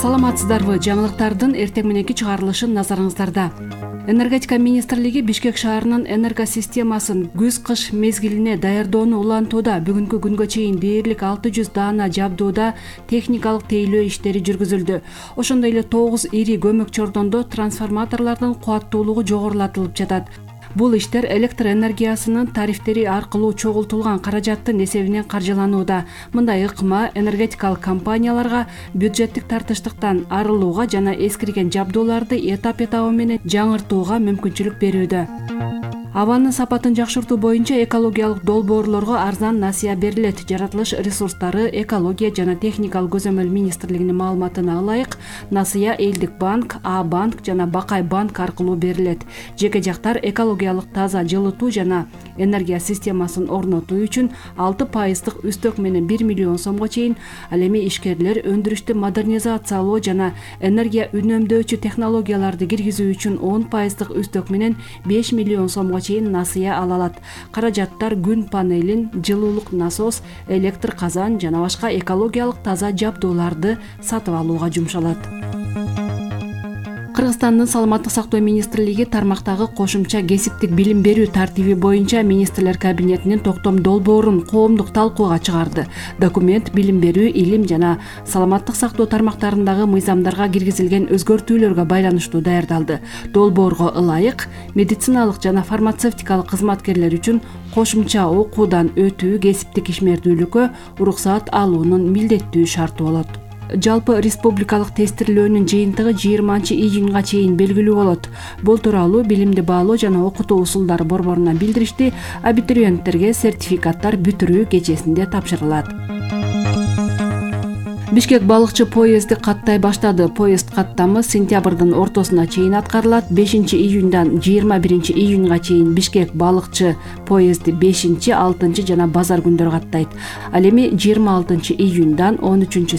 Саламатсыздарбы? Жаңылыктардын эртең мененки чыгарылышы назарыңыздарда. Энергетика министрлиги Бишкек шаарынын энергосистемасын күз-кыш мезгилине даярдоону улантууда. Бүгүнкү күнгө чейин дээрлик 600 даана жабдууда техникалык тейлөө иштери жүргүзүлдү. Ошондой эле 9 ири көмөк чордондо трансформаторлордун кубаттуулугу жогорулатылып жатат. Бул иштер электр энергиясынын тарифтери аркылуу чогултулган каражаттын эсебинен каржыланууда. Мындай ыкма энергетикалык компанияларга бюджеттик тартыштыктан арылууга жана эскирген жабдууларды этап-этабы менен жаңыртууга мүмкүнчүлүк берүүдө. Абанын сапатын жакшыртуу боюнча экологиялык долбоорлорго арзан насыя берилет. Жаратылыш ресурстары, экология жана техникалык көзөмөл министрлигинин маалыматына ылайык, насыя Элдик банк, А банк жана Бакай банк аркылуу берилет. Жеке жактар экологиялык таза жылытуу жана энергия системасын орнотуу үчүн 6% үстөк менен 1 миллион сомго чейин, ал эми ишкерлер өндүрүштү модернизациялоо жана энергия үнөмдөөчү технологияларды киргизүү үчүн 10% үстөк менен 5 миллион сомго чейин насыя ала алат. Каражаттар күн панелин, жылуулук насос, электр казан жана башка экологиялык таза жабдууларды сатып алууга жумшалат. Кыргызстандын саламаттык сактоо министрлиги тармактагы кошумча кесиптик билим берүү тартиби боюнча министрлер кабинетинин токтом долбоорун коомдук талкууга чыгарды. Документ билим берүү, илим жана саламаттык сактоо тармактарындагы мыйзамдарга киргизилген өзгөртүүлөргө байланыштуу даярдалды. Долбоорго ылайык, медициналык жана фармацевтикалык кызматкерлер үчүн кошумча окуудан өтүү кесиптик ишмердүүлүккө уруксаат алуунун милдеттүү шарты болот. Жалпы республикалык тестирлөөнүн жыйынтыгы 20-июнга чейин белгилүү болот. Бул тууралуу билимди баалоо жана окутуу усулдары борборунан билдиришти. Абитуриенттерге сертификаттар бүтүрүү кечесинде тапшырылат. Бишкек балыкчы поезди каттай баштады. Поезд каттамы сентябрдын ортосуна чейин аткарылат. 5-июндан 21-июнга чейин Бишкек балыкчы поезди 5-6 жана базар күндөрү каттайт. Ал эми 26-июндан 13